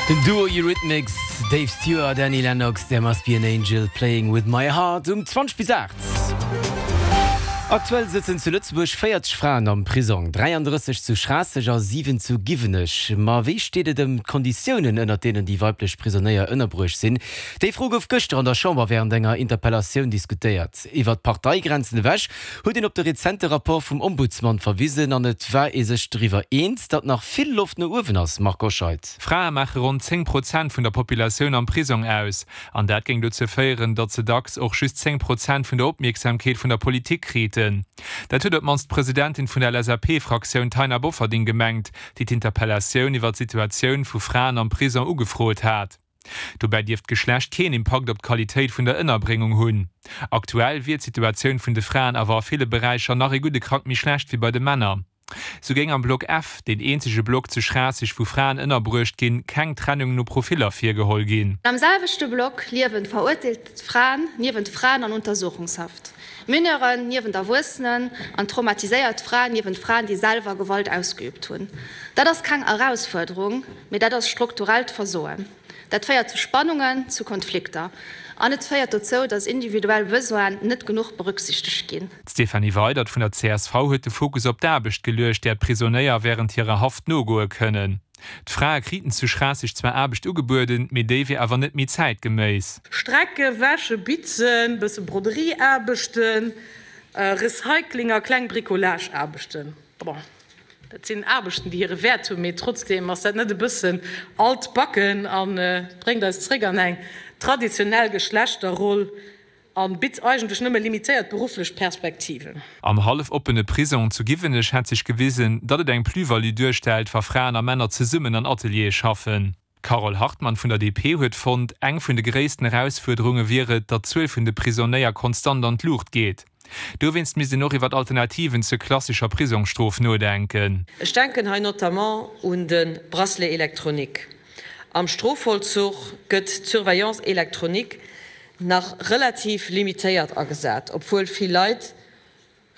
Den Duo Eurythmics, Dave Stewart, Annie Lennox, There Must Be An Angel Playing With My Heart um 20 bis 8. Aktuell sëtzen zu Lëtzebuerg 40 Fraen am Prisong, 33 zu Schraasseg a 7 zu Giwenech. Ma wéi steet et ëm d'Konditiounen, ënnert deenen déi weiblech Prisonéier ënnerbruecht sinn? Déi Fro gouf gëschter an der Chamber wärend enger Interpellatioun diskutéiert. Iwwer d'Parteigrenzen ewech huet een op de rezente Rapport vum Ombudsman verwisen an et war ee sech doriwwer eens, datt nach vill Loft no uewen ass. Marc Goscheid. Frae maache ronn 10 Prozent vun der Populatioun am Prisong aus. An dat géing dozou féieren, datt se dacks och just 10 Prozent vun der Opmierksamkeet vun der Politik kriten. Dat huet op d'mannst d'Presidentin vun der LSAP-Fraktioun Taina Bofferding gemengt, déi d'Interpellatioun iwwer d'Situatioun vu Fraen am Prisong ugefrot hat. Dobäi dierft d'Geschlecht keen Impakt op d'Qualitéit vun der Ënnerbréngung hunn. Aktuell wier d'Situatioun vun de Fraen awer a ville Beräicher nach ee gudde Krack méi schlecht wéi bei de Männer. Sou géing am Block F, deen eenzege Block zu Schraasseg wou Fraen ënnerbruecht ginn, keng Trennung no Profiller virgeholl ginn. Am selwechte Block liewen verurteelt Fraen niewent Fraen an Untersuchungshaft, Mineuren niewent Erwuessenen an traumatiséiert Fraen niewent Fraen, déi selwer Gewalt ausgeübt hunn. Dat ass keng Erausfuerderung, mee dat ass strukturellt Versoen. Dat féiert zu Spannungen, zu Konflikter an et féiert dozou, datt individuell Besoinen net genuch berücksichtegt ginn. D'Stéphanie Weydert vun der csv huet de Fokus op d'Aarbecht geluecht, där d'Prisonéier wärend hirer Haft nogoe kënnen. D'Frae kriten zu Schraasseg zwar Aarbecht ugebueden, mee déi wier awer net méi zäitgeméiss. Strecke, wäsche, bitzen, bësse Broderieaarbechten, Recycling a kleng Bricolage-Aarbechten. Bon, dat sinn Aarbechten, déi hire Wäert hunn, mee trotzdeem ass dat net e bëssen altbacken a bréngt eis zréck an eng traditionell Geschlechterroll a bitt eigentlech nëmme limitéiert berufflech Perspektiven. Am hallef oppene Prisong zu Giwenech hätt sech gewisen, datt et eng Plus-value duerstellt, wa Fraen a Männer zesummen an Ateliere schaffen. D'Carole Hartmann vun der DP huet fonnt, eng vun de gréissten Erausfuerderunge wier et, datt d'Zuel vun de Prisonéier konstant an d'Luucht geet. Dowéinst misst een och iwwer Alternativen zur klassescher Prisongsstrof nodenken. Ech denken hei notamment un de Bracelet électronique. Am Strofvollzuch gëtt d'Surveillance électronique nach relativ limitéiert agesat, obwuel vill Leit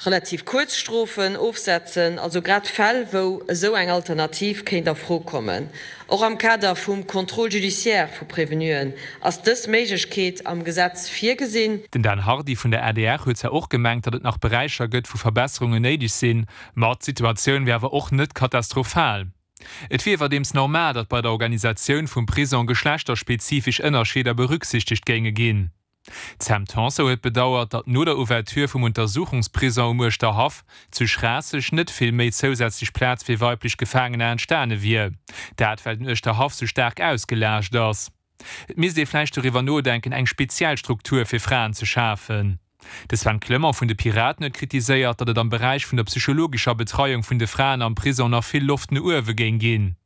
relativ kuerz Strofen ofsetzen, also grad Fäll, wou esou eng Alternativ kéint a Fro kommen. Och am Kader vum Contrôle judiciaire vu Prévenuen ass dës Méiglechkeet am Gesetz virgesinn. Den Dan Hardy vun der adr huet zwar och gemengt, datt et nach Beräicher gëtt, wou Verbesserungen néideg sinn, ma d'Situatioun wier awer och net katastrophal. Et wier iwwerdeems normal, datt bei der Organisatioun vum Prisong geschlechterspezifesch Ënnerscheeder berücksichtegt géinge ginn. D'Sam Tanson huet bedauert, datt no der Ouverture vum Untersuchungsprison um Uerschterhaff zu Schraasseg net vill méi zousätzlech Plaz fir weiblech Gefaangener entstane wier. Dat well den Uerschterhaff sou staark ausgelaascht ass. Et misst ee vläicht doriwwer nodenken, eng speziell Struktur fir Fraen ze schafen. De Sven Clement vun de Piraten huet kritiséiert, datt et am Beräich vun der psychologescher Betreiung vun de Fraen am Prisong nach vill Loft no uewe géing ginn.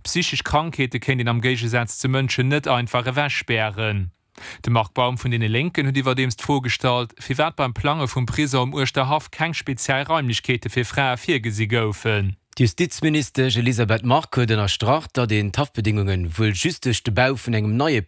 Psychesch Krankheete kéint een am Géigesaz zu Mënschen net einfach ewechspären. De Marc Baum vun deene Lénken huet iwwerdeems d'Fro gestallt, firwat beim Plange vum Prisong um Uerschterhaff keng speziell Raimlechkeete fir Frae virgesi goufen. D'Justizministesch Elisabeth Margue huet ënnerstrach, datt een d'Haftbedéngunge wuel just duerch de Bau vun engem neie.